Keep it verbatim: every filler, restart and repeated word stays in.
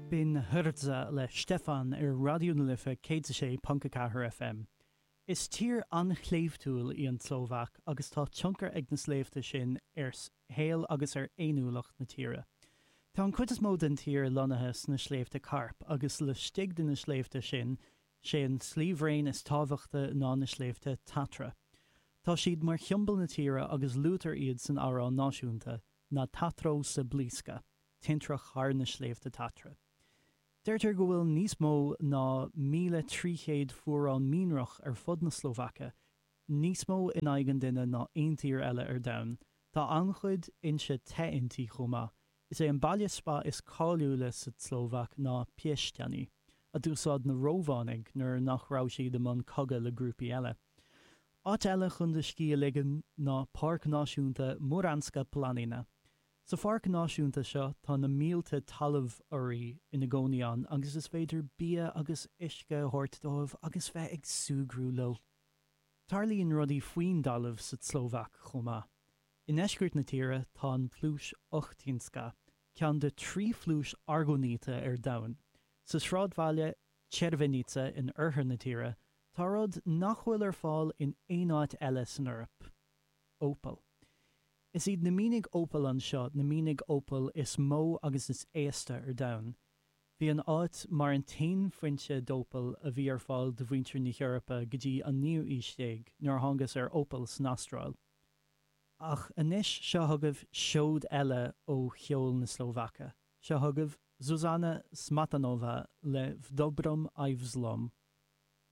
B'in Hrdza le Štefan ar Raidió na Life céad a sé ponc a ceathair FM. Is tír an-shléibhtiúil í an tSlóvaic agus tá tionchar ag na sléibhte sin ar shaol agus ar fhéiniúlacht na tíre. Tá an chuid is mó den tír lonnaithe sna Sléibhte Cairp agus laistigh de na sléibhte sin sé an sliabhraon is tábhachtaí ná na Sléibhte Tatra. Tá siad mar shiombail na tíre agus luaitear iad san amhrán náisiúnta, Nad Tatrou sa blísca, tintreach thar na Sléibhte Tatra. Deirtear go bhfuil níos mó ná míle trí chéad fuarán mianrach ar fud na Slóvaice, níos mó in aghaidh an duine ná aon tír eile ar domhan. Tá an-chuid fhoinse te inti chomh maith. Is é an baile spa is cáiliúla sa tSlóvaic ná Piešťany, a d'úsáid na Rómhánaigh nuair nach raibh siad i mbun cogadh le grúpaí eile. Áit eile chun do scíth a ligean ná Páirc Náisiúnta Muránska Planina. Sa pháirc náisiúnta seo tá na mílte talamh-ioraí ina gcónaí ann agus is féidir bia agus uisce a thabhairt dóibh agus bheith ag súgradh leo. Tarlaíonn rudaí faoin dtalamh sa tSlóvaic chomh maith. I ndeisceart na tíre tá an phluais Ochtinská, ceann de trí phluais argóiníte ar domhan. Sa sráidbhaile Červenice in oirthear na tíre, tá rud nach bhfuil ar fáil in aon áit eile san Eoraip, ópal. Is iad na mianaigh ópail anseo na mianaigh ópail is mó agus is aosta ar domhan. Bhí an áit mar an t-aon foinse d'ópal a bhí ar fáil do mhuintir na hEorpa go dtí an naoú aois déag, nuair a thángthas ar ópal san Astráil. Ach anois seo chugaibh seoid eile ó cheol na Slóvaice. Seo chugaibh Zuzana Smatanová le V dobrom aj v zlom.